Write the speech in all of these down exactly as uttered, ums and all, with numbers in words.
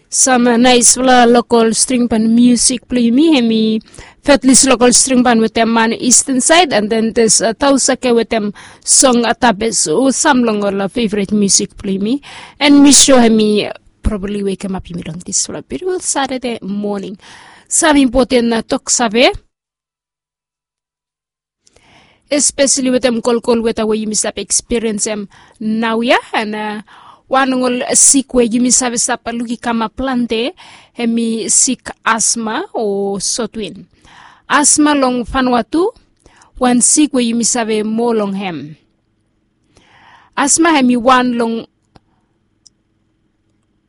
Sam naispela lokol string pan musik bilong yumi, em i Fetlis lokol string pan wetem man Eastern Side, and then this uh, Tausake wetem song Atabes, o sam long ol uh, favorite music bilong yumi. And mi sure em i probably wake em up yumi long this uh, beautiful Saturday morning. Sam important uh, tok save. Especially wetem kolkol weta we yumi save experienceem nau ya, and uh, wan long ol sik we yumi save stap luk i kamap plante, em i sik asma o sotwin. Asma long Vanuatu, wan sik we yumi save moa long hem. Asma em i wan long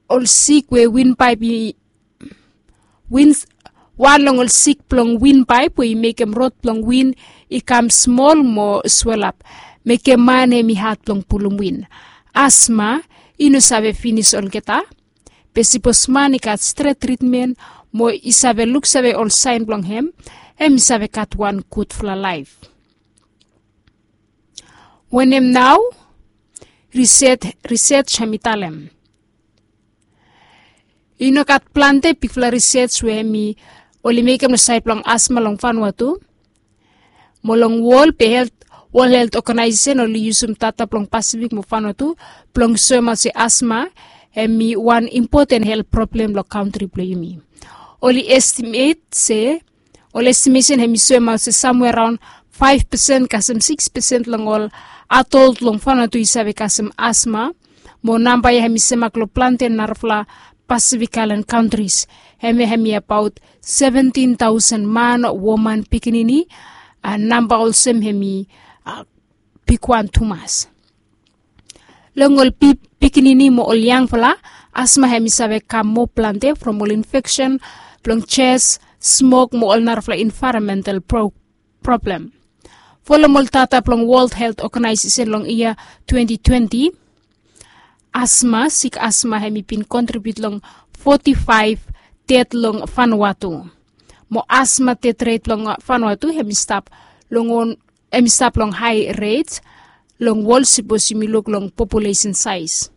ol sik we win paip i win wan long ol sik bilong win paip we i mekem rot bilong win i kam smol mo swelap, mekem man em i hat bilong pulum win. Asma i no save finis olgeta, be sipos man i gat stret tritmen mo i save luksave ol sain bilong hem, em i save gat wan gudfala laip. Wanem nau? Riset, riset em i talem. I no gat plante bikpela riset we em i oli mekem long sait bilong asma long Vanuatu. Mo long wol pe helt, World Health Organization oli yusum data bilong Pasifik mo Vanuatu bilong soemaot se asma em i wan impoten helt problem long kantri bilong yumi. Oli estimet se Ol estimesen hem i soemaot se samwea araon faif pesen kasem siks pesen long ol adol long Vanuatu i save kasem asma. Mo namba ya hem i semak long plante narafala Pasifik Ailan kantris. Hem ya hem i abaot seventin tausen man, woman, pikinini. Namba olsem hem i bigwan tumas. Long ol pikinini mo ol yangfala, asma hem i save kam moa plante from ol infeksen blong jes, smok mo ol narafala envaeronmental problem. Folom ol data blong World Health Organization long yia twenti twenti, asma, sik asma hem i bin kontribiut long foti faif ded long Vanuatu. Mo asma ded ret long Vanuatu hem i stap long on em i stap long hai ret long wol sipos yumi luk long populesen saiz.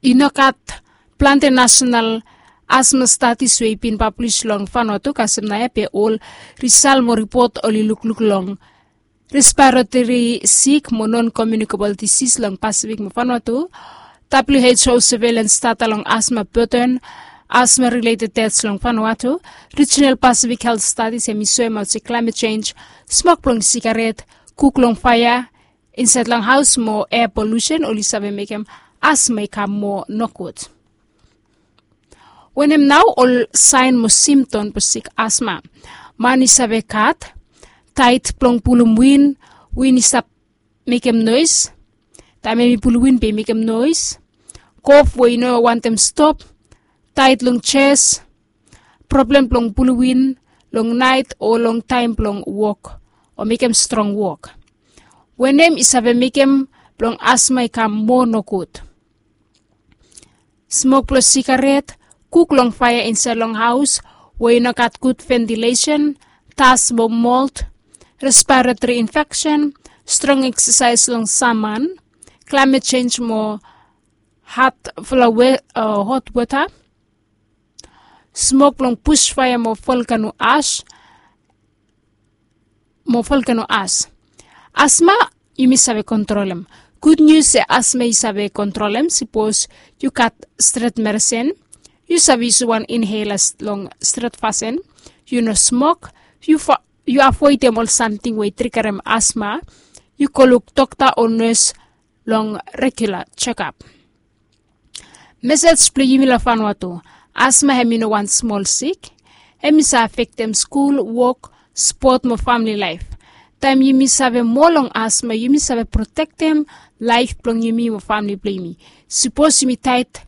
I no gat plante nasenal asma stadis we i bin pablis long Vanuatu kasem naoia, be ol risal mo ripot oli lukluk long respiratori sik mo non komiunikabol disis long Pasifik mo Vanuatu. WHO surveillance data long asma burden, asma related deaths long Vanuatu. Regional Pacific Health Studies hem i soemaot se climate change, smok blong sigaret, kuk long faea insait long haus mo air pollution oli save mekem asma i kam moa nogud. Wanem nau ol saen mo simptom blong sik asma? Man i save gat, tait blong pulum win, win i stap mekem nois. Taem em i pulum win be i mekem nois. Kof we i no wantem stop, tait long jes, problem blong pulum win long nait o long taem blong wok o mekem strong wok. Wanem i save mekem blong asma i kam moa nogud? Smok blong sigaret, kuk long faea insait long haus we i no gat gud ventilesen, das mo molt, respiratori infeksen, strong eksasaes long saman, klaimet jenj mo hatfala hot wota, smok blong bus faea mo volkano as, mo volkano as. Asma yumi save kontrolem. Gud nius se asma i save kontrolem sipos yu gat stret meresin. Yu save yusim wan inhela long stret fasin. Yu no smok. Yu avoedem ol samting we i trigarem asma. Yu go luk dokta o nes long regula jekap. Mesej blong yumi long Vanuatu, asma hem i no wan smol sik. Hem i save afektem skul, wok, spot mo famili laef. Taem yumi save moa long asma yumi save protektem laef blong yumi mo famili blong yumi. Sipos yumi tait,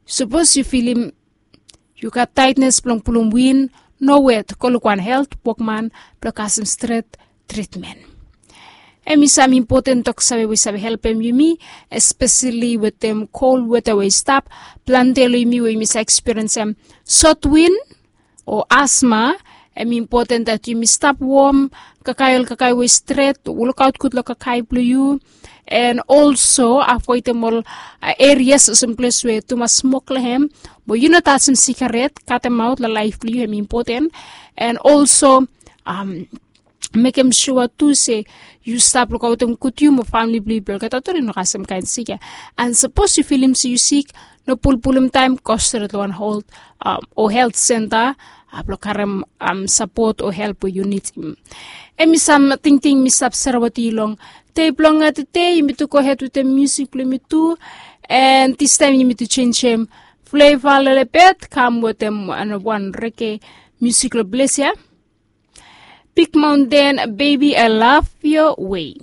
sipos yu filim yu gat taetnes blong pulum win, no wet, go luk wan helt wokman blong kasem stret tritmen. Em i sam impoten toksave we i save helpem yumi, espeseli wetem kol weta we i stap. Plante long yumi we yumi save ekspiriensem sotwin o asma. Em i impoten dat yumi stap wom, kakae ol kakae we i stret, lukaot gud long kakae blong yu. and also avoidem ol erias olsem ples we tumas smok long hem, mo yu no tasim sigaret, katemaot long laif blong yu hem impoten. And also mekem sua tu se yu stap lukaotem gud yu mo famili blong yu blong olgeta tu ri no kasem kain sik ya. And sapos yu filim se yu sik, no pulpulum taim, go stret long wan hold o helt senta blong karem sapot o help we yu nidim. Em i sam tingting mi stap sere wetem yu long dei blong tede. Yumi tu gohed wetem musik blong yumi tu. And distaim yumi tu jenisim fleva lelebet kam wetem wan rege musik long ples ya. Big Mountain, Baby I Love Your Way.